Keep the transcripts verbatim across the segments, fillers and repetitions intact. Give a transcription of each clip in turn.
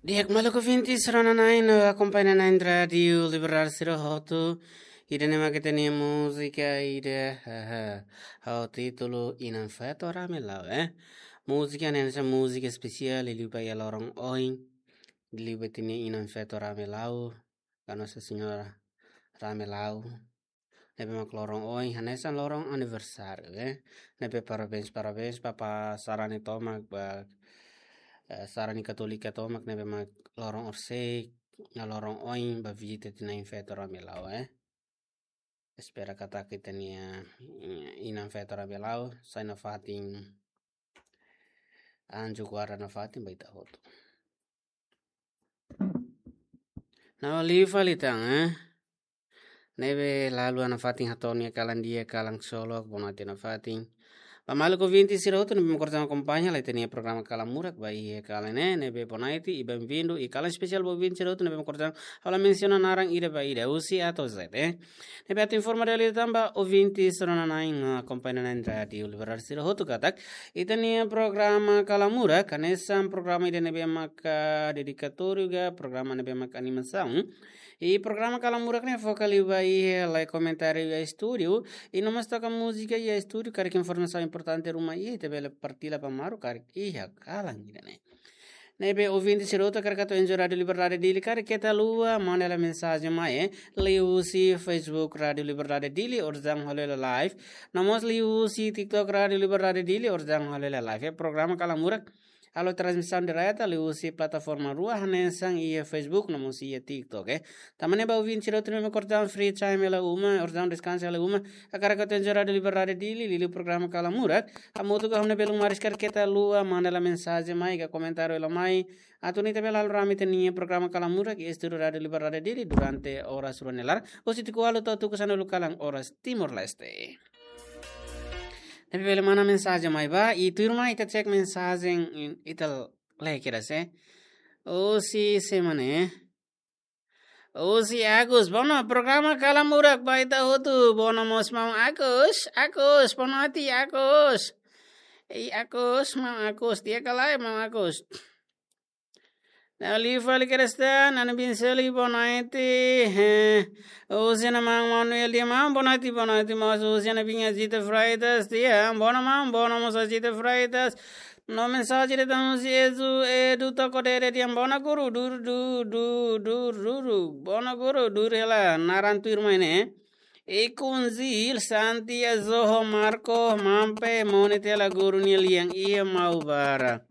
Di'ak maluk ouvintes rona-na'in no akompaña na'in Rádiu Liberdade sira hotu. Ida-ne'e mak ita-nia múzika ida, haha, ho títulu Inan Feto Ramelau, eh. Múzika ne'e hanesan múzika espesiál, liuliu ba iha loron oin, liuliu ba ita-nia Inan Feto Ramelau, ka Nossa Senhora Ramelau. Ne'ebé mak loron oin, hanesan loron aniversáriu, eh. Ne'ebé parabéns, parabéns ba, ba sarani tomak, ba, eh, sarani Katólika tomak, ne'ebé mak loron orsida, no loron oin, ba vizita ita-nia Inan Feto Ramelau, eh. Espera katak ita-nia, eh, Inan Feto Ramelau, sai nafatin, anju guarda nafatin, ba ita hotu. No liu fali tan, eh. Ne'ebé lalu iha nafatin hato'o nia kalan di'ak, kalan ksolok, bonoite nafatin. Ba maluk ouvintes sira hotu ne'ebé mak orsida akompaña lai ita-nia programa Kalan Murak ba iha kalan ne'e, ne'ebé bonoite i bem-vindo, i kalan espesiál ba ouvintes sira hotu ne'ebé mak orsida ha'u la mensiona naran ida ba ida, husi A to'o Z, eh. Ne'ebé atu informa de'it tan ba ouvintes rona-na'in no akompaña na'in Rádiu Liberdade sira hotu katak ita-nia programa Kalan Murak, hanesan programa ida ne'ebé maka dedikatóriu ka programa ne'ebé maka animasaun. I programa Kalan Murak ne'e foka liu ba iha lai komentáriu iha estúdiu, i no mós toka múzika iha estúdiu, karik informasaun importante ruma iha, ita bele partilla ba maluk karik iha kalan ida-ne'e. Ne'ebé ouvinte sira hotu, karik atu enjoy Rádiu Liberdade Dili, karik keta haluha manda hela mensajen mai, eh, liuhusi Facebook Rádiu Liberdade Dili, orsida halo hela live. No mós liuhusi TikTok Rádiu Liberdade Dili, orsida halo hela live. Eh, programa Kalan Murak halo transmisaun direta liuhusi plataforma rua hanesan iha Facebook no mós iha TikTok, eh. Tanba ne'e ba ouvinte sira hotu ne'ebé mak orsida free time hela uma, orsida deskansa hela uma, karik atu enjoy Rádiu Liberdade Dili, liuliu programa Kalan Murak, hamutuk ho ami-nia belun maris, karik keta haluha manda hela mensajen mai, ka komentáriu hela mai, atu nune'e ita bele halo rame ita-nia programa Kalan Murak iha estúdiu Rádiu Liberdade Dili durante oras rua nia laran, husi tuku ualu to'o tuku sanulu kalan oras Timor-Leste. Ne'ebé bele manda mensajen mai ba, i tuirmai ita cek mensajen, i ita lee kedas, eh. Husi sé mak ne'e? Husi Agus, bono programa Kalan Murak ba ita hotu, bono mós maun Agus, Agus, bonoite Agus. Ei Agus, maun Agus, di'ak ka lae maun Agus? No liu fali kedas tan, Ana Binseli, bonoite, eh, husi Ana maun Manuel, di'ak maun, bonoite, bonoite mós husi Ana Binya Zita Freitas, di'ak, bono maun, bono mós Zita Freitas. No mensajen ida tan husi Edu, Edu Toko Dede, di'ak, bono guru, dur, du, du, dur, dur, dur, bono guru, dur hela, naran tuirmai ne'e. Ikun Zil, Santi, Azoho, Marco, Mampe, mone tela guru nia lian iha Maubara.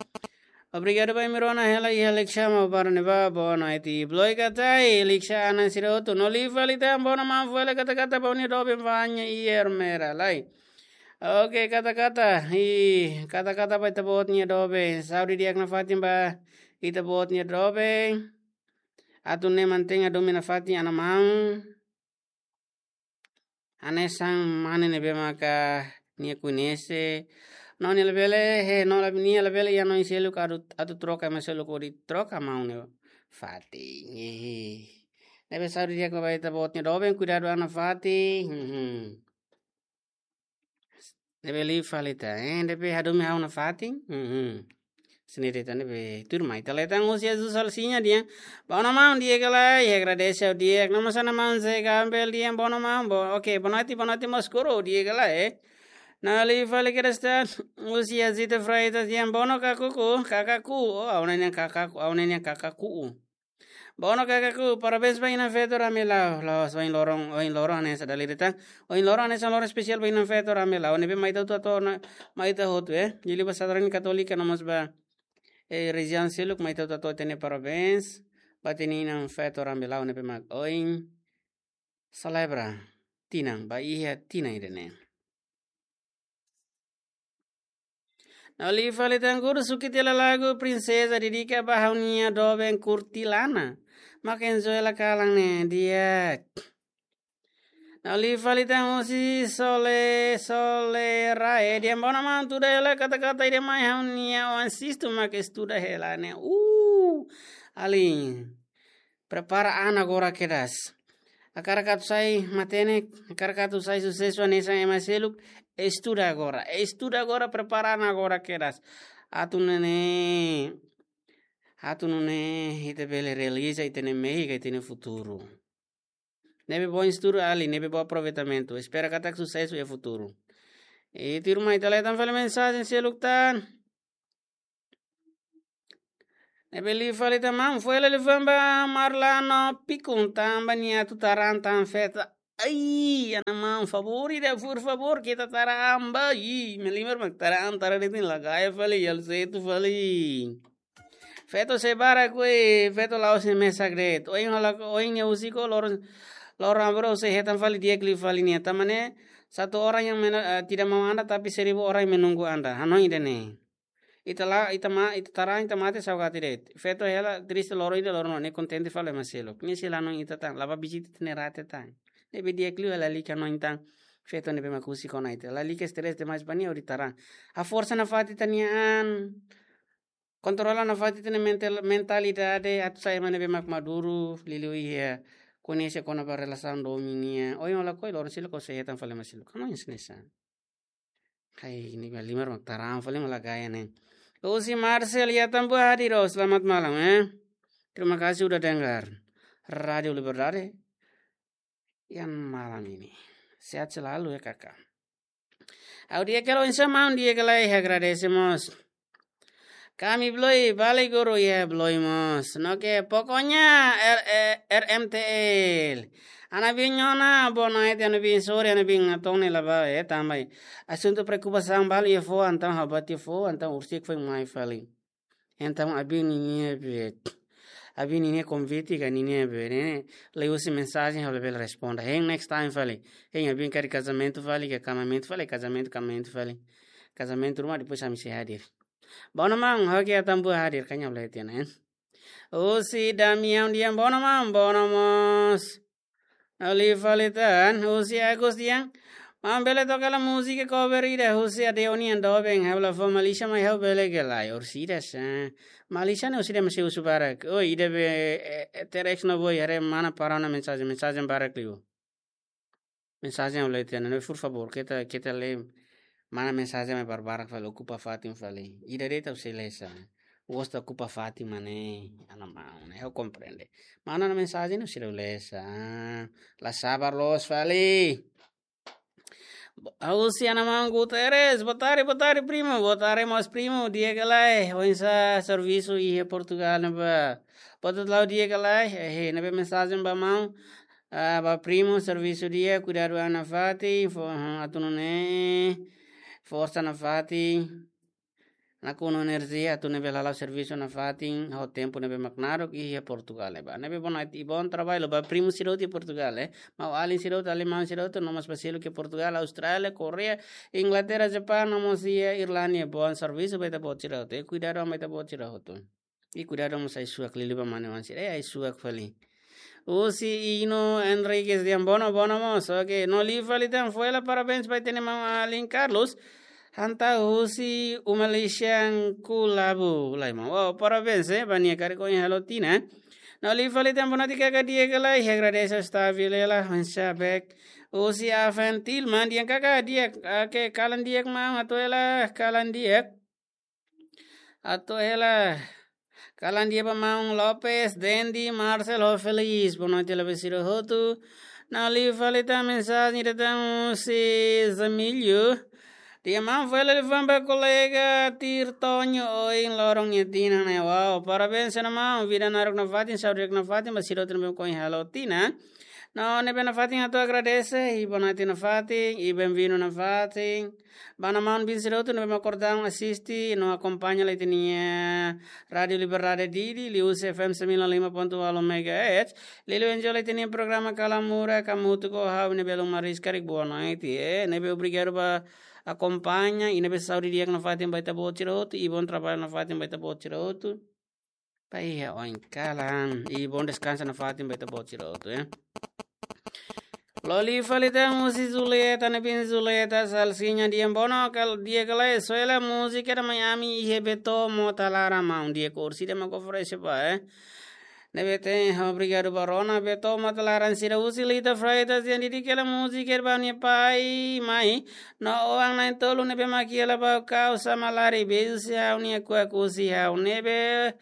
Obrigadu ba imi rona hela iha Likisá Maubara ne'ebá, bonoite. Bloika Tai, Likisá Ana sira hotu, no liu fali tan, bono maun, fó hela kata-kata ba ó-nia doben Vanya i Ermera, lai. Oke, kata-kata, i kata-kata ba ita-boot nia doben. Saúde di'ak nafatin ba ita-boot nia doben. Atu nune'e mantein hadomi nafatin Ana maun. Hanesan mane ne'ebé maka nia koñese. No nia labele, he, no lab-, nia labele iha hanoin seluk atu, atu troka ema seluk hodi troka maun nia fatin. Hehe. Ne'ebé saúde di'ak ba ita-boot nia doben, kuidadu an nafatin. Hmm. Ne'ebé liu fali tan, eh, ne'ebé hadomi ha'u nafatin. Hmm. Sini de'it tan ne'ebé tuirmai. Ita lee tan husi Azu Salsiña, di'ak. Bono maun, di'ak ka lae, i agradese ha'u di'ak. No mós Ana maun Zé Gambel, di'ak, bono maun, bo-, oke, bonoite, bonoite mós guru, di'ak ka lae, eh. No liu fali kedas tan husi Azita Freitas, di'ak, bono kakaku, kakaku. Oh, ha'u-nia kakaku, ha'u-nia kakaku. Bono kakaku, parabéns ba Inan Feto Ramelau. La'ós ohin loron, ohin loron hanesan dala ida tan. Ohin loron hanesan loron espesiál ba Inan Feto Ramelau. Ne'ebé mai ita hotu atu ona, mai ita hotu, eh. Liuliu ba sarani Katólika no mós ba, eh, relijiaun seluk, mai ita hotu atu ona parabéns ba ita-nia Inan Feto Ramelau ne'ebé mak ohin selebra tinan, ba iha tinan ida-ne'e. No liu fali tan guru, suki tiha lagu Prinseza, dedika ba ha'u-nia doben Kurtilana. Mak enjoy hela kalan ne'e, di'ak. No liu fali tan husi Sole, Sole Rae, di'ak, bono maun, tuda hela kata-kata ida mai, ha'u-nia oan sistu mak estuda hela ne'e. Uh, alin. Prepara an agora kedas. Hakarak atu sai matenek, hakarak atu sai susesu hanesan ema seluk, estuda agora. Estuda agora, prepara an agora kedas. Atu nune'e Atu nune'e ita bele realiza ita-nia mehi ka ita-nia futuru. Ne'ebé bom estudu ali, ne'ebé bom aproveitamentu. Espera katak susesu iha futuru. I tuirmai ita lee tan fali mensajen seluk tan. Ne'ebé liu fali tan maun, foin hela liafuan ba Marlano Pikun tanba nia atu taran tan feto. Ai, ana maun, favór ida, por favór, keta taran ba. Ih, melimar mak taran, taran de'it nia la gaya fali, halo setu fali. Feto sei barak, kue, feto la'ós nia mesak de'it. Ohin halo, ohin nia husik ho loron, loron abro sei hetan fali di'ak liu fali nia. Tanba ne'e, satu orang yang mena-, eh, tidak mau anda, tapi seribu orang yang menunggu anda. Hanoin ida-ne'e. Ita la, ita ma, ita taran, ita mate saugati de'it. Feto hela triste loron ida, loron ne'e kontente fali ema seluk. Nia sei la hanoin ita tan, la bá vizita ita-nia rate tan. Ne'ebé di'ak liu lalika hanoin tan. Feto ne'ebé mak husik ona ita. Lalika stress demais ba nia hodi taran. Haforsa nafatin ita-nia an. Kontrola nafatin ita-nia mental, mentalidade atu sai ema ne'ebé mak maduru, liuliu iha koñese kona-ba relasaun domin nian. Ohin ha'u lakohi, loron seluk ha'u sei hetan fali ema seluk. Hanoin hanesan ne'e. Hai, nia melimar mak taran fali mak la gaya ne'e. Husi Marcel, ya tambua hadir, oh, selamat malam, eh. Terima kasih udah dengar Radio Liberdade yang malam ini. Sehat selalu ya, Kakak. Ha'u di'ak hela, oinsá maun, di'ak ka lae, agradese mós. Kami Bloy, balik guru ya Bloy mós. No ke, pokoknya R-, eh, R M T L. Ana bin nyona, boa noite, ana bin sore, ana bin atone la ba, eh, tanba asuntu preokupasaun balu iha foho, entaun ha'u bá tiha foho, entaun husik foin mai fali. Entaun, abin ninia be, abin ninia konvite ka ninia be, ne'e, liuhusi mensajen ha'u labele responde. Hein next time fali. Hein abin karik kazamentu fali, ka kamamentu fali, kazamentu, kamamentu fali. Kazamentu ruma depois ami sei hadir. Bono maun, oke, ya tambua hadir, kanya boleh tiana, eh. Husi Damião dehan bono maun, bono mós. Liu fali tan, husi Agus dehan, maun bele toka hela múzika cover ida husi Adeoni nian doben, ha'u la fó Malaysia mai ha'u bele ka lae, orsida sa. Malaysia ne'e orsida mak sei husu barak. Oh, ida be, eh, eh, T R X no boy, haree mana para ona mensajen, mensajen barak liu. Mensajen ha'u lee tiha ona, por favór, keta, keta lee mana mensajen mai barbarak fali, okupa fatin fali. Ida de'it ha'u sei lee sa. Gosta okupa fatin mak ne'e, ana maun, ne'e ha'u komprende. Mana ona mensajen ha'u sei lee sa. La sabar loos fali. Husi ana maun Guterres, boa tarde, boa tarde, primo. Boa tarde, mós primo, di'ak ka lae. Oinsá servisu iha Portugal ne'ebá? Boa tarde, lau, di'ak ka lae. Eh, ne'ebé mensajen ba maun, ah, ba primo, servisu di'ak, kuidadu an nafatin, fo-, atu nune'e, forsa nafatin. Nakonu enerjia atu ne'ebé hala'o servisu nafatin, ho tempu ne'ebé mak naruk iha Portugal ne'ebá. Ne'ebé boa noite, i bom trabalho ba primo sira hotu iha Portugal, eh. Maun-alin sira hotu, alin-maun sira hotu, no mós ba seluk iha Portugal, Austrália, Koreia, Inglaterra, Japaun, no mós iha Irlandia. Bom servisu ba ita-boot sira hotu, eh. Kuidadu an ba ita-boot sira hotu. I kuidadu mós ai-suak, liuliu ba mane-oan sira, eh, ai-suak fali. Husi Ino Enriquez dehan bono, bono mós. Oke, no liu fali tan, foin hela parabéns ba ita-nia maun-alin Carlos. Hanta husi uma lixan kulabu. Lae maun. Wow, parabéns, eh, ba nia karik ohin halo tinan. No liu fali tan, boa noite kaka, di'ak ka lae, agradese, está vilela, oinsá bek. Husi Aventil, maun dehan kaka, di'ak, oke, kalan di'ak maun, atu hela, kalan di'ak. Atu hela. Kalan di'ak ba maun Lopes, Dendi, Marcel, ho Feliz. Boa noite, Lopes sira hotu. No liu fali tan mensajen ida tan husi Zamilio. Dehan maun, foin hela liafuan ba kolega Tirtonho ohin loron nia tinan ne'e. Wow, parabéns, ana maun. Vida naruk nafatin, saúde di'ak nafatin, ba sira hotu ne'ebé mak ohin halo tinan. No ne'ebé nafatin atu agradese, i boa noite nafatin, i bem-vindo nafatin. Ba ana maun-bin sira hotu ne'ebé mak ohin asiste no akompaña lai ita-nia Rádio Liberdade Dili, liuhusi F M sembilan lima ponto delapan megahertz. Liuliu enjoy lai ita-nia programa Kalan Murak, hamutuk ho ha'u ne'ebé Lumaris karik boa noite, eh. Ne'ebé obrigadu ba akompaña, i ne'ebé saúde di'ak nafatin ba ita-boot sira hotu, i bom trabalho nafatin ba ita-boot sira hotu. Ba iha oin kalan, i bom deskansa nafatin ba ita-boot sira hotu, eh. Liu fali tan husi Julieta, ne'ebé Julieta Salsiña dehan bono kal, di'ak ka lae, soe hela múzika ida mai ami iha Beto Mota Laran maun, di'ak, orsida mak oferese ba, eh. Ne'ebé tenke obrigadu ba rona Beto Mota Laran sira. Husi Lita Freitas dehan dedika hela múzika ida ba nia pai, mai, no oan na'in-tolu ne'ebé mak iha Labaukau, Samalari, beijusi ha'u-nia kuak husi ha'u, ne'ebé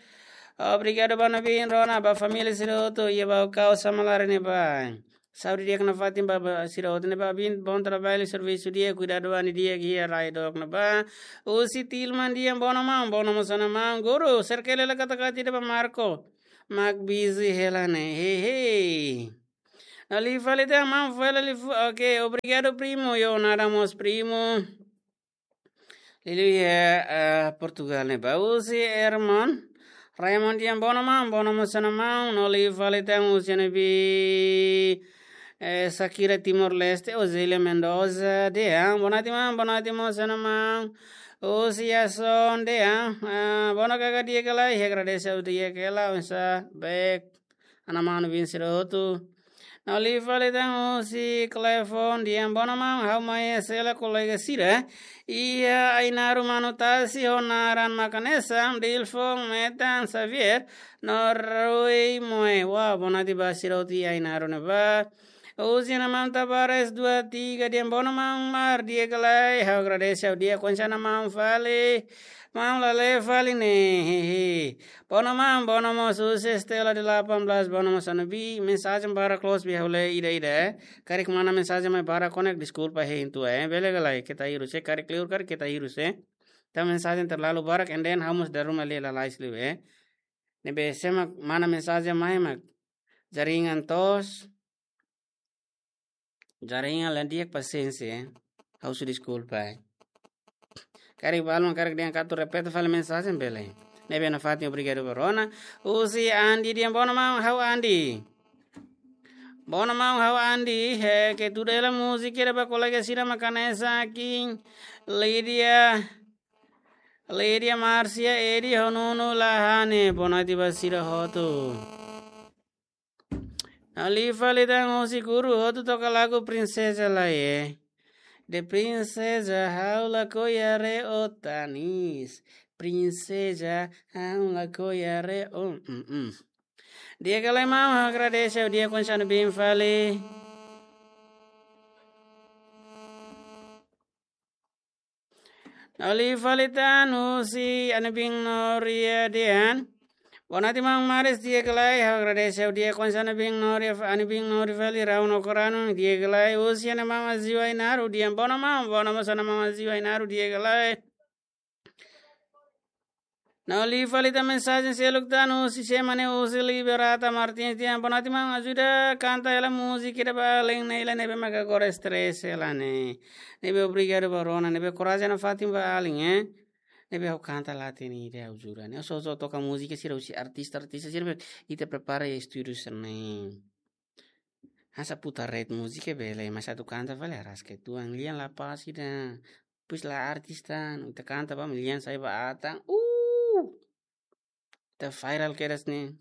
Obrigadu ba Nabin Rona, ba família sira hotu, iha ba kau sama lare ne'ebá. Saúde di'ak nafatin ba, ba sira hotu ne'ebá bin, bom trabalho, servisu di'ak, kuidadu an di'ak, iha rai dook ne'ebá. Husi Tilman Dian, boa noite maun, boa noite mós ona maun. Guru, serkele la kata-kata ida ba Marco. Mak busy hela ne'e, hehe. No liu fali tan maun, fali liu fu-, oke, obrigadu primo, yo nada mós primo. Liuliu iha, eh, Portugal ne'ebá. Husi irmaun Raymond Dian, boa noite maun, boa noite mós ona maun. No liu fali tan husi ne'ebé, eh, Shakira Timor-Leste, Ozelia Mendoza, Dian, boa noite maun, boa noite mós ona maun. Husi Yason Dian, ah, boa noite kaka di'ak ka lae, agradese di'ak ka lae, oinsá bek. Ana manu bin sira hotu. No liu fali tan husi Clefon Dian, boa noite maun, ha'u mai hela kolega sira. Iha Ainaro manu tasi ho naran Makanesa, Dilfon, Metan, Xavier, no Rui Moe. Wah, boa noite ba sira hotu iha Ainaro ne'ebá. Husi ana maun Tavares dua tiga Dian, boa noite maun, Mar, di'ak ka lae, ha'u agradese ha'u di'ak, oinsá maun fali. Maun la lee fali ne'e, hehe. Boa noite maun, boa noite mós husi Estela de delapan belas, boa noite mós ona bi, mensajen barak loos bi ha'u lee ida-ida, eh. Karik mana mensajen mai barak konek, deskulpa hein tu, eh. Bele ka lae, keta hirus, eh. Karik liur, karik keta hirus, eh. Tanba mensajen terlalu barak, and then ha'u mós dala ruma lee lalais liu, eh. Ne'ebé se mak mana mensajen mai mak jaringan toos. Jaringan la di'ak, pasiénsia, eh. Ha'u husu deskulpa, eh. Karik balu, karik dehan atu repete fali mensajen bele. Ne'ebé nafatin, obrigadu ba rona. Husi Andi Dian, boa noite maun, ha'u Andi. Boa noite maun, ha'u Andi. He, ke tuda hela múzika ida ba kolega sira Makanesa, King, Lydia, Lydia Marcia, Edi, ho Nunu Lahane. Boa noite ba sira hotu. No liu fali tan husi Guru, hotu toka lagu Princesa Lae. De princesa ha'u lakohi haree ó tanis. Princesa ha'u lakohi haree ó, mm, mm. Di'ak ka lae maun, agradese ha'u di'ak, oinsá bin fali. No liu fali tan husi Anibin Noria Dehan. Boa noite maun Maris, di'ak ka lae, ha'u agradese ha'u di'ak, oinsá Anibin Noria, Anibin Noria fali, rau no koranu, di'ak ka lae, husi ana maun Aziu Ainaru Dehan, boa noite maun, boa noite mós ona maun Aziu Ainaru, di'ak ka lae. No liu fali tan mensajen seluk tan husi semana husi Liberata Martins Dehan, boa noite maun, ajuda kanta hela múzika ida ba alin ne'e, nia ne'ebé mak agora stress hela ne'e. Ne'ebé obrigadu ba rona, ne'ebé korajen nafatin ba alin, eh. Ne'ebé ha'u kanta la hatene ida, ha'u jura ne'e. Ha'u só, só toka múzika sira husi artista, artista sira be, ita prepara iha estúdiu sira-ne'e. Hanesan putar ret múzika bele, mas atu kanta fali araska uitoan, lian la pas ida. Depois la artista, ita kanta ba, lian sai ba atan. Uh! Ita viral kedas ne'e.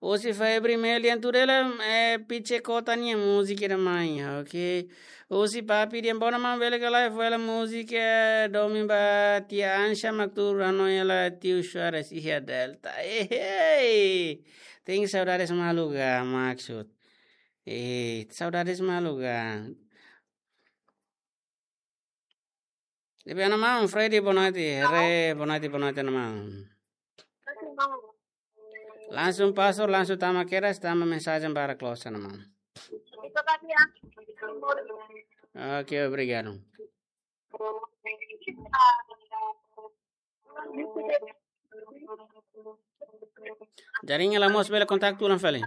Husi Febri Melian tuda hela, eh, Piche Kota nia múzika ida mai, oke. Husi Papi Dian, boa noite maun, bele ka lae, fó hela múzika, eh, domin ba tia Ansha mak tuur hanoin hela tiu Suarez iha Delta. Eh, hey. Tenke saudades malu ka, maksud. Eh, saudades malu ka. Ne'ebé ana maun, Freddy, boa noite. Here, boa noite, boa noite, ana maun. Langsung pastor, langsung tama kedas, tama mensajen barak loos, ana maun. Oke, obrigadu. Jaringan la moos, bele kontaktu ulang fali.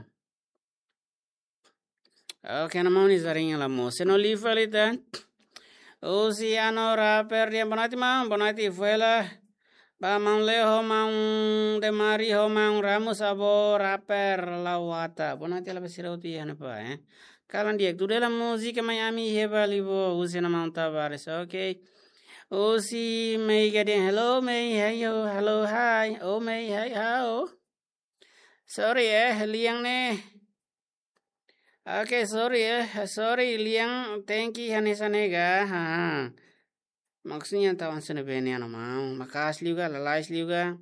Oke, ana maun, jaringan la moos. Se no liu fali tan. Husi Ano Rapper Dian, boa noite maun, boa noite, fó hela ba maun Leo ho maun Demari ho maun Ramos, avó Rapper Lawata. Boa noite hela ba sira hotu iha ne'ebá, eh. Kalan di'ak, tuda hela múzika mai ami iha Bali bo, husi ana maun Tavares, oke. Husi Meiga Dian, hello Mei, hey yo, hello, hi. Oh Mei, hey, how? Sorry, eh, lian ne'e. Oke, sorry, eh, sorry, lian tenke hanesan ne'e ka. Ha, ha. Maksudnya tau hanesan ne'ebé ne'e, ana maun. Maka'as liu ka, lalais liu ka.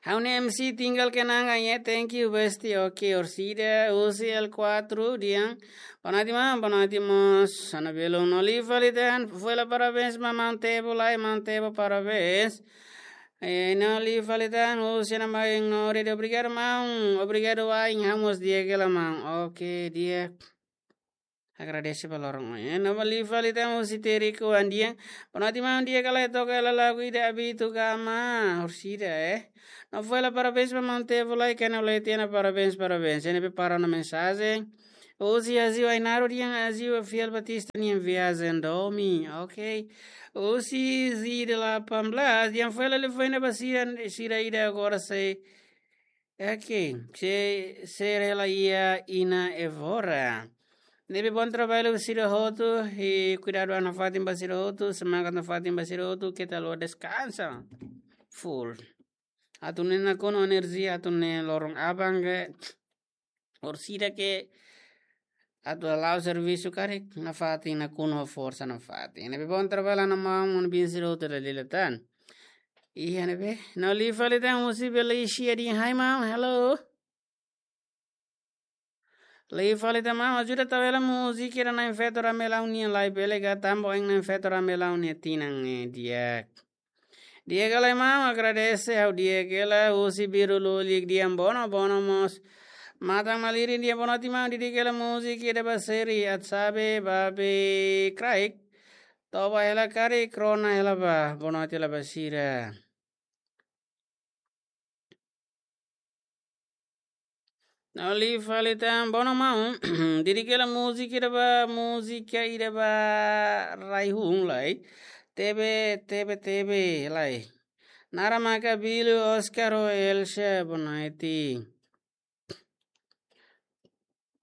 Ha'u-nia M C tinggal kenangan ya, thank you bestie. Oke, Orsida, husi L kuatru Dian. Boa noite maun, boa noite mós. Ana belum no liu fali tan, fó hela parabéns ba maun Tebo lai, maun Tebo parabéns. Eh, no li falitan, husi Ana Maun Nori, obrigadu maun, obrigadu wa'in, ha'u mós di'ak hela maun. Oke, di'ak. Agradese ba loron ohin. Eh, no li falitan, husi Teriku Andian. Boa noite maun, di'ak ka lae, toka hela lagu ida Abitu Gama, orsida, eh. No fó hela parabéns ba maun Tevo lai, kena leti ona parabéns, parabéns. Ne'ebé para ona mensajen. Husi Aziu Ainaro dehan Aziu Fiel Batista nian viajen domin. Ok. Husi Zidela Pamblas dehan fó hela liafuan ida ba sira, sira ida agora sei. Ok. Se, sei hela iha Ina Evora. Ne'ebé bom trabalho sira hotu, i kuidadu an nafatin ba sira hotu, semangat nafatin ba sira hotu, keta haluha deskansa. Full. Atu nune'e nakonu enerjia, atu nune'e loron aban ke, orsida ke atu hala'o servisu karik nafatin, nakonu ho forsa nafatin. Ne'ebé bom trabalho Ana Maun, maun-bin sira hotu dala ida tan. Iha ne'ebé, no li falitan, husi Beleisia dehan hi maun, hello. Li falitan maun, ajuda tau hela múzika ida Na'in Feto Ramelau nian lai, bele ka, tanba ohin Na'in Feto Ramelau nia tinan ne'e, di'ak. Di'ak ka lae maun, agradese, ha'u di'ak hela. Husi Biru Lulik dehan bono, bono mós. Matan Malirin dehan boa noite maun, dedika hela múzika ida ba Seri Atsabe, Babe Kraik. Toba hela karik, rona hela bá, boa noite hela ba sira. No li falitan, bono maun, dedika hela múzika ida ba, múzika ida ba Raihun lai. Tebe, tebe, tebe lai. Nara Makabilu, Oscar ho Elsa, boa noite.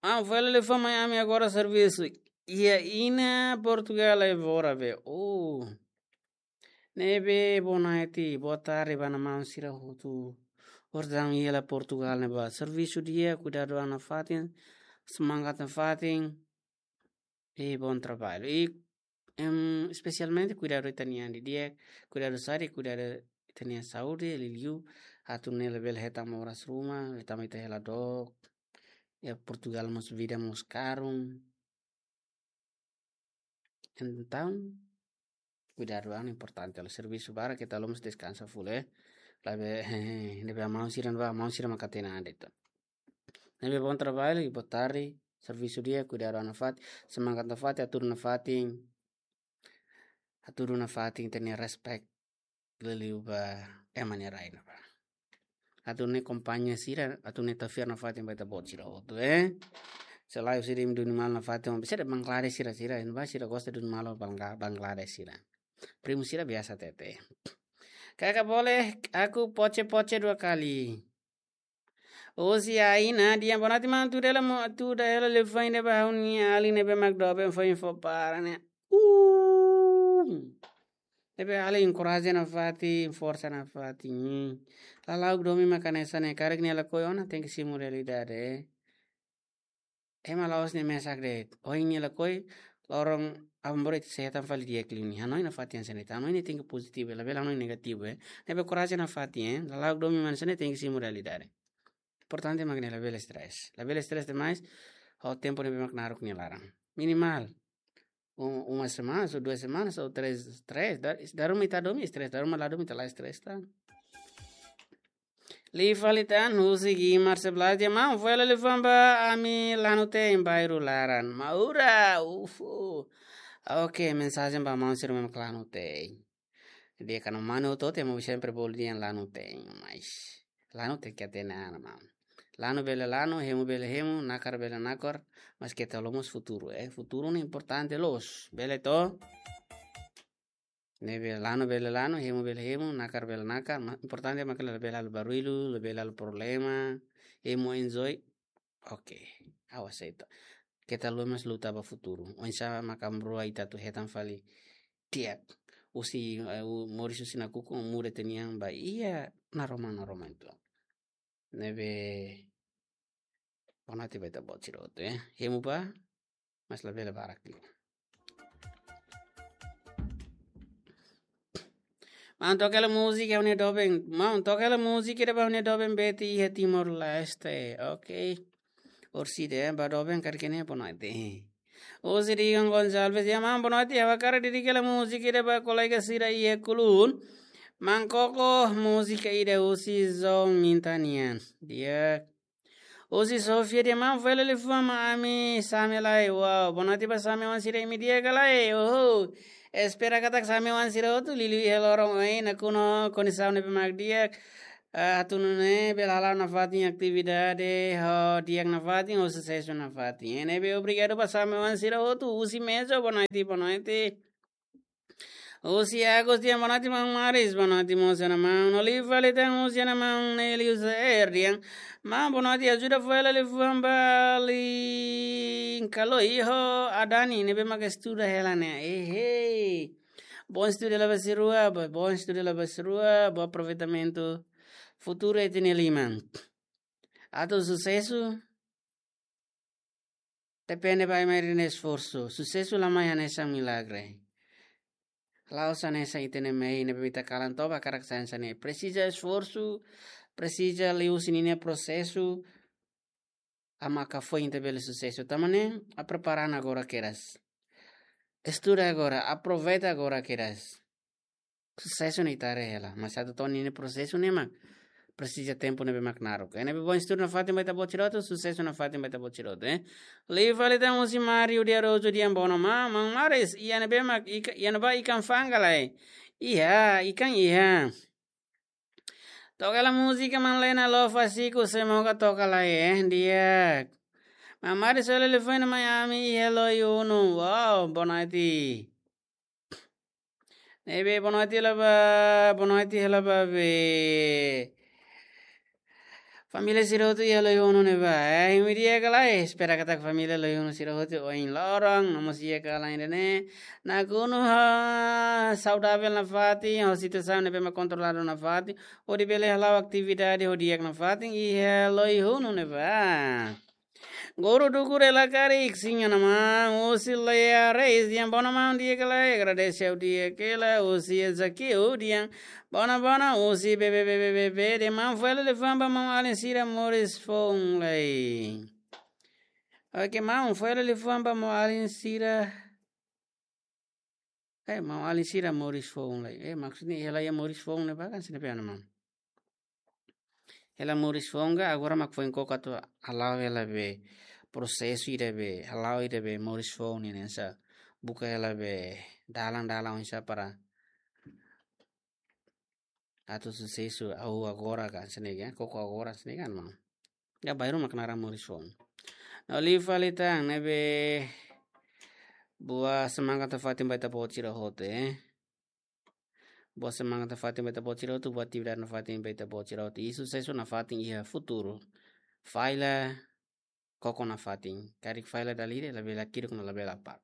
Ah, fó hela liafuan mai, ami agora servisu iha Ina Portugal Evora be. Oh. Ne'ebé boa noite, boa tarde ba Ana Maun sira hotu. Orsida iha Portugal ne'ebá servisu di'ak, kuidadu an nafatin, semangat nafatin. I bom trabalho. I, em, espesialmente kuidadu ita-nia an di'ak, kuidadu saúde, kuidadu ita-nia saúde, liuliu atu nune'e labele hetan moras ruma, tanba ita hela dook. Iha Portugal mós vida mós karun. Entaun, kuidadu an importante, halo servisu barak, keta haluha mós deskansa full, eh. Labele, ne'ebé maun sira, ba maun sira maka hatene de'it. Ne'ebé bom trabalho, i boa tarde, servisu di'ak, kuidadu an nafatin, semangat nafatin, hatudu nafatin, hatudu nafatin, tenke respect, liuliu ba ema nia rai ne'ebá. Atu nune'e akompaña sira, atu nune'e tafiar nafatin ba ita-boot sira hotu, eh. Selae sira imi duni malu nafatin, bisa de'it Bangladesh sira, sira, imi ba sira gosta duni malu Bangla-, Bangladesh sira. Primu sira biasa hatete. Kaka boleh, aku poce-poce dua kali. Husi Aina dehan boa noite maun, tuda hela mo, tuda hela liafuan ida ba ha'u-nia alin ne'ebé mak doben fó info para ne'e. Uh. Ne'ebé alin enkoraja nafatin, forsa nafatin. Lala'ok domin maka hanesan ne'e, karik nia lakohi ona tenke simu realidade. Ema la'ós ne'e mesak de'it. Ohin nia lakohi, loron aban-bainrua ita sei hetan fali di'ak liu nia. Hanoin nafatin hanesan ne'e, hanoin ne'e tenke pozitivu, labele hanoin negativu, eh. Ne'ebé korajen nafatin, eh. Lala'ok domin mak hanesan ne'e tenke simu realidade. Importante mak ne'e labele stress. Labele stress demais, ho tempu ne'ebé mak naruk nia laran. Minimal. Um, uma semana, ou duas semanas, ou três, três. Dala, dala ruma ita domin stress, dala ruma la domin ita la stress tan. Li fali tan, husi Guimar sebelas dehan maun, fó hela liafuan ba ami lanu te'in bairru laran. Maura, ufu. Oke, mensajen ba maun sira mak lanu te'in. Di'ak ka lae maun, ita hotu ema sempre bolu dehan lanu te'in, mas lanu tenke hatene an maun. Lanu bele lanu, hemu bele hemu, nakar bele nakar, mas keta haluha mós futuru, eh. Futuru ne'e importante loos, bele to? Ne'ebé lanu bele lanu, hemu bele hemu, nakar bele nakar, ma importante mak labele halo barullu, labele halo problema, hemu enjoy. Oke, ha'u aseita. Keta haluha mós luta ba futuru. Oinsá mak aban-bainrua ita atu hetan fali di'ak. Husi, eh, u-, moris husi nakukun, muda ita-nia an ba iha naroman-naroman uitoan. Ne'ebé, boa noite ba ita-boot sira hotu, eh. Hemu bá, mas labele barak liu. Maun, toka hela múzika ha'u-nia doben. Maun, toka hela múzika ida ba ha'u-nia doben Betty iha Timor-Leste. Ok. Orsida, eh, ba doben karik ne'e boa noite. Husi Dion Gonçalves, ya maun, boa noite, ha'u hakarak dedika hela múzika ida ba kolega sira iha Kulun. Maun Koko, múzika ida husi Zon Minta nian. Di'ak. Husi Sofia dehan maun fó hela liafuan ba ami Same lai. Wow, boa noite ba Same oan sira imi di'ak ka lae. Oho. Espera katak Same oan sira hotu liuliu iha loron ohin nakonu kondisaun ne'ebé mak di'ak. Ah, atu nune'e bele hala'o nafatin atividade ho di'ak nafatin, ho susesu nafatin. Ne'ebé obrigadu ba Same oan sira hotu, husi Mezo, boa noite, boa noite. Husi Agus dehan boa noite maun Maris, boa noite mós ona maun. No liu fali tan husi ona maun Nelius R dehan maun boa noite, ajuda fó hela liafuan ba Linkalo iho Adani ne'ebé mak estuda hela ne'e. Ehe. Bom estudo la ba sira rua, bo-, bom estudo la ba sira rua, bom aproveitamentu futuru ita-nia liman. Atu susesu, depende ba ema ida-ne'e esforsu. Susesu la mai hanesan milagre. La'ós hanesan ita-nia mehi ne'ebé ita kalan toba hakarak sai hanesan ne'e. Presiza esforsu, presiza liuhusi ninia prosesu, mak foin ita bele susesu. Tanba ne'e, a prepara ona agora kedas. Estuda agora, aproveita agora kedas. Susesu ne'e ita haree hela, mas atu to'o ninia prosesu ne'e mak presiza tempu ne'ebé mak naruk. Ne'ebé bom estudu nafatin ba ita-boot sira hotu, susesu nafatin ba ita-boot sira hotu, eh. Liu fali tan husi Mario de Araújo dehan boa noite maun, maun Maris, iha ne'ebé mak ika-, iha ne'ebá ikan fanga ka lae? Iha, ikan iha. Toka hela múzika Maun Lena Lova Siku, semoga toka lai, eh, di'ak. Maun Maris fó hela liafuan mai ami iha Loiunu. Wow, boa noite. Ne'ebé boa noite hela ba, boa noite hela ba be. Família sira hotu iha Loiunu ne'ebá. Eh, imi di'ak ka lae, espera katak família Loiunu sira hotu ohin loron, no mós di'ak ka lae ida-ne'e. Nakonu ho saudavel nafatin, ho situasaun ne'ebé mak kontroladu nafatin, hodi bele hala'o atividade ho di'ak nafatin iha Loiunu ne'ebá. Guru Dukur ela karik, sim, ana maun, husi Lea Reis, dehan boa noite maun, di'ak ka lae, agradese ha'u di'ak hela, husi Ezequiel dehan boa noite, boa noite, husi B B B B B B, dehan maun fó hela liafuan ba maun-alin sira moris foun lai. Oke, maun fó hela liafuan ba maun-alin sira. Eh, maun-alin sira moris foun lai. Eh, maksudnya hela iha moris foun ne'ebá ka, sini pe ana maun. Hela moris foun ka, agora mak foin koko atu hala'o hela be prosesu ida be, hala'o ida be moris foun ne'e hanesan buka hela be dalan-dalan oinsá para atu susesu ha'u agora ka, hanesan ne'e ka, koko agora hanesan ne'e ka, maun. Ya, bairru mak naran moris foun. No liu fali tan, ne'ebé boa semangat nafatin ba ita-boot sira hotu, eh. Boa semangat nafatin ba ita-boot sira hotu, boa atividade nafatin ba ita-boot sira hotu. I susesu nafatin iha futuru. Falla, koko nafatin. Karik falla dala ida, labele hakiduk no labele apá.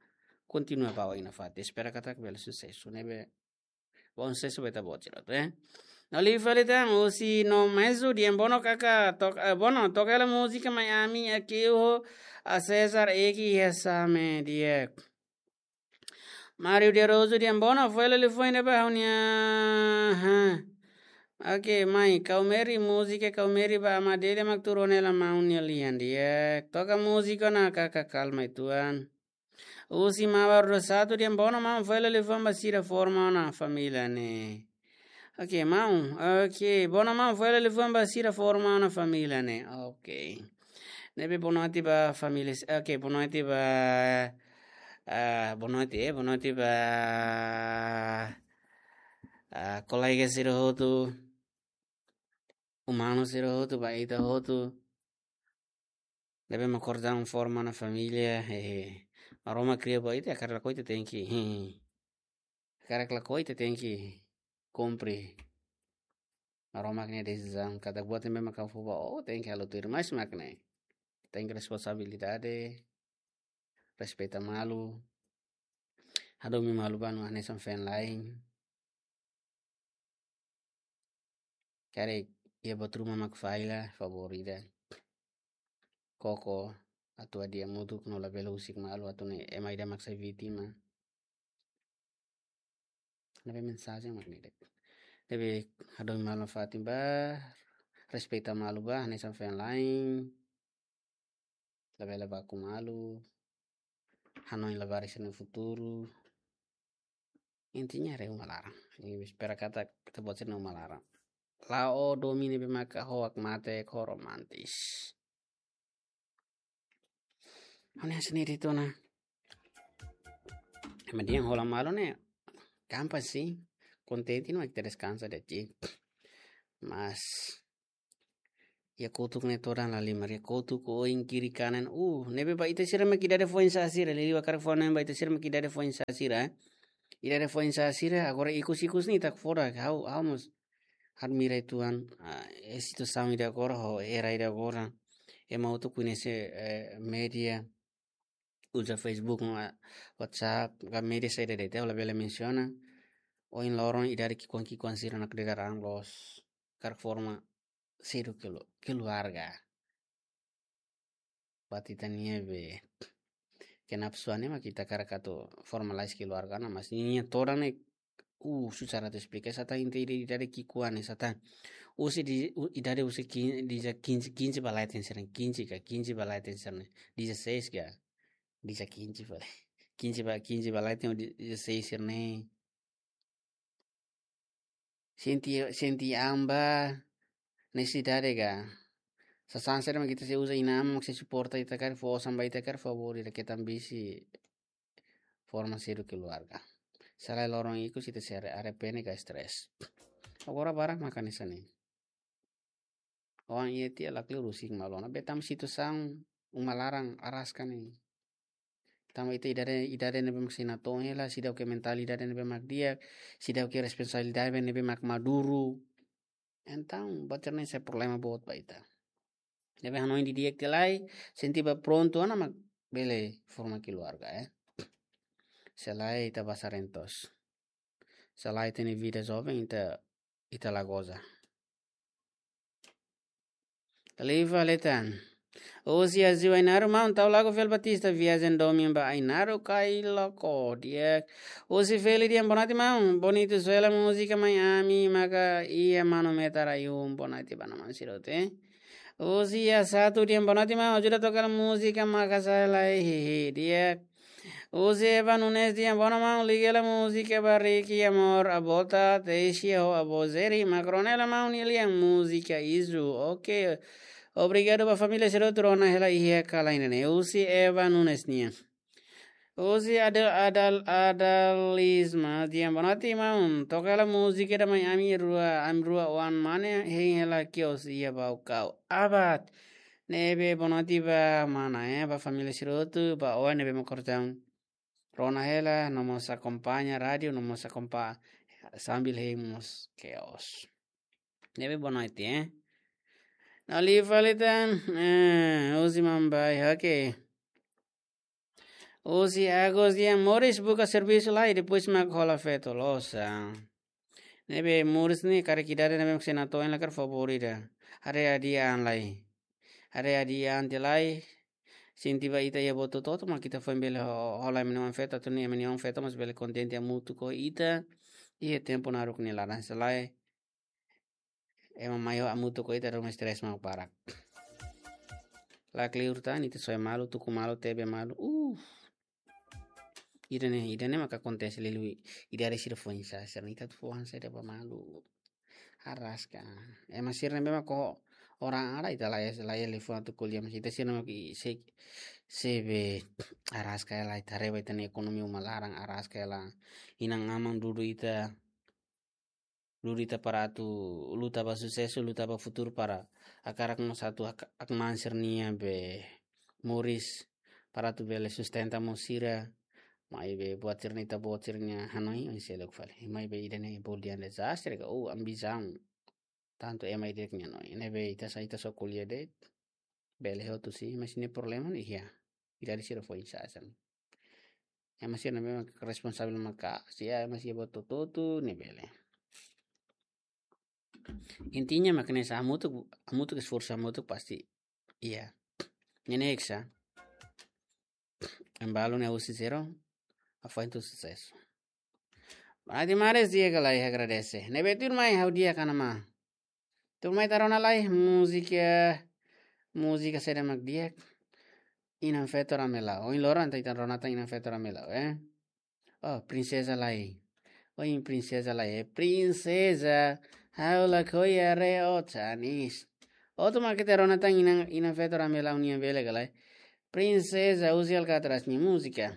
Kontinua ba oin nafatin. Espera katak bele susesu. Ne'ebé bom susesu ba ita-boot sira hotu, eh. No liu fali tan, husi No Mezu dehan boa noite kaka, tok-, eh, boa noite, toka hela múzika mai ami, Akeuho, a César, Eki, iha Same, di'ak. Mario de Araújo dehan boa noite, fó hela liafuan ida ba ha'u-nia, ha. Oke, mai, Kaumeri, múzika Kaumeri ba Amadele mak tuur ona hela maun nia lian, di'ak. Toka múzika ona kaka, kalma uitoan. Husi Mabar Rosatu dehan boa noite maun, fó hela liafuan ba sira forma ona família ne'e. Oke, maun. Oke, boa noite maun, fó hela liafuan ba sira forma ona família ne'e. Oke. Ne'ebé boa noite ba família. Oke, boa noite ba, ah, boa noite, eh, boa noite ba, ah, kolega sira hotu. Umanu sira hotu, ba ita hotu. Ne'ebé mak kordang forma ona família, hehe. Maromak kria ba ita, hakarak lakohi ita tenke, hehe. Hakarak lakohi ita tenke kumpre Maromak nia desizaun, katak buat ne'ebé mak ha'u fó ba ó, tenke halo tuir, mas mak ne'e. Tenke responsabilidade, respeita malu, hadomi malu ba no hanesan feen-la'en. Karik iha buat ruma mak falla, favór ida. Koko, atu hadi'a hamutuk no labele husik malu atu nune'e ema ida mak sai vítima. Ne'ebé mensajen mak ne'e de'it. Ne'ebé hadomi malu nafatin ba, respeita malu ba, hanesan feen-la'en. Labele baku malu. Hanoin labarik sira-nia futuru. Intinya haree uma laran. Imi espera katak ita-boot sira-nia uma laran. La'o domin ne'ebé maka ho hakmatek, ho romantis. Ha'u-nia sendiri tu na. Ema dehan hola malu ne'e gampang sih. Kontente no ita deskansa de'it. Mas iha kotuk ne'e todan lahalimar, iha kotuk oin kiri kanan. Uh, ne'ebé ba ita sira mak idade foin-sa'e sira, liuliu hakarak fó-hanoin ba ita sira mak idade foin-sa'e sira, eh. Idade foin-sa'e sira, agora ikus-ikus ne'e ita foda, ha'u, ha'u mós admira uitoan, ah, eh, situasaun ida agora, ho era ida agora. Ema hotu koñese, eh, média, uza Facebook, no, ah, WhatsApp, ka média saida de'it, ha'u labele mensiona. Ohin loron idade ki'ikoan-ki'ikoan sira nakdedar an loos, hakarak forma sedu kelu-, keluarga. Buat ita-nia be kenapsuan ne'e mak ita hakarak atu formalize keluarga ona, mas nia todan ne'e, uh, susar atu esplika. Esa tan inte ida, idade ki'ikoan ne'e esa tan. Husi di, u-, idade husi quinze, dezasseis, quinze ba leten sira-ne'e, quinze ka, quinze ba leten sira-ne'e, dezasseis ka, dezasseis, quinze ba, quinze ba, quinze ba leten, dezasseis sira-ne'e. Sente, sente an ba nesesidade ka. Sasán saida mak ita sei uza inan-aman mak sei suporta ita karik, fó osan ba ita karik, favór ida, keta ambisi forma sedu keluarga. Se lae loron ikus ita sei arre-, arrepende ka stress. Agora barak maka hanesan ne'e. Oan iha tiha lakleur husik malu ona. Be tanba situasaun uma laran araska ne'e. Tanba ita idade, idade ne'ebé mak sei natoon hela, seidauk iha mentalidade ne'ebé mak di'ak, seidauk iha responsabilidade ne'ebé mak maduru. Entaun, buat sira-ne'e sai problema boot ba ita. Ne'ebé hanoin didi'ak tiha lai, sente ba prontu ona mak bele forma keluarga, eh. Se lae ita basa rentos. Se lae ita-nia vida joven, ita, ita la goza. Liu fali tan. Husi Aziu Ainaro, maun, tau lagu Fel Batista, Viajen Domin ba Ainaro, Kailoko, di'ak. Husi Feli dehan boa noite, maun. Bonitu soe hela múzika mai ami, maka iha manu metar ayun, boa noite ba maun sira hotu, eh. Husi Asatu dehan boa noite, maun. Ajuda toka hela múzika maka sai lai, hehe, di'ak. Husi Eva Nunes dehan boa noite, maun, liga hela múzika ba Ricky Amor, Avó Tata, Teisia ho Avó Zeri, mak rona hela maun nia lian múzika Izu. Ok. Obrigadu ba família sira hotu rona hela iha kalan ida-ne'e. Husi Eva Nunes nian. Husi Adal, Adal, Adalisma dehan boa noite, maun. Toka hela múzika ida mai ami rua, ami rua oan mane, hein hela kios iha Baucau. Abat. Ne'ebé boa noite ba mana, eh, ba família sira hotu, ba oan ne'ebé mak kortaun. Rona hela, no mós akompaña rádiu, no mós akompaña sambil hein mós kios. Ne'ebé boa noite, eh. No liu fali tan, eh, husi Mambai, ok. Husi Agus dehan, Moris buka servisu lai, depois mak hola feto loos. Ne'ebé Moris ne'e karik idade ne'ebé mak sei natoon hela karik favór ida. Haree hadi'a an lai. Haree hadi'a an tiha lai. Sente ba ita iha buat hotu-hotu mak ita foin bele ho-, hola ema nia oan feto, atu nune'e ema nia oan feto mós bele kontente hamutuk ho ita. Iha tempu naruk nia laran, se lae ema mai ho hamutuk ho ita ruma stress mak barak. Lakleur tan, ita soe malu, tuku malu, tebe malu. Uh. Ida-ne'e, ida-ne'e maka akontese liuliu idade sira foin-sa'e sira-ne'e, ita atu fó oan saida ba malu. Araska. Ema sira ne'ebé mak ho orang ara ita la iha, la iha liafuan atu ko'alia, mas ita sira ne'ebé mak sei, sei be araska hela, ita haree ba ita-nia ekonomia uma laran araska hela. Inan-aman dudu ita, dudu ita para atu luta ba susesu, luta ba futuru para hakarak mós atu hak-, hakmaan sira-nia be moris para atu bele sustenta mós sira. Maibé buat sira-ne'e ita-boot sira-nia hanoin, oinsá loos fali. Maibé ida-ne'e bolu dehan dezastre ka, oh, ambisaun. Tantu ema ida-idak nia hanoin. Ne'ebé ita sa, ita só ko'alia de'it. Bele hotu sih, mas ne'e problema ne'e iha. Idade sira foin-sa'e sira-ne'e. Ema sira ne'ebé mak responsavel maka'as, ema sira buat hotu-hotu ne'e bele. Intinya mak ne'e sa hamutuk, hamutuk esforsu hamutuk pasti. Iya. Ne'e ne'e sa. Ema balu ne'e husi zero, afoin to'o susesu. Boa noite maun, di'ak ka lae, agradese. Ne'ebé tuirmai ha'u di'ak ka lae maun? Tuirmai ita rona lai múzika, múzika saida mak di'ak. Inan Feto Ramelau. Ohin loron ita rona tan Inan Feto Ramelau, eh. Oh, Prinseza Lai. Ohin prinseza la iha, prinseza, ha'u lakohi haree ó tanis. Ó tama ke te rona tan inan, inan feto rame lau nian bele ka lae. Prinseza, husi alkatras nia múzika.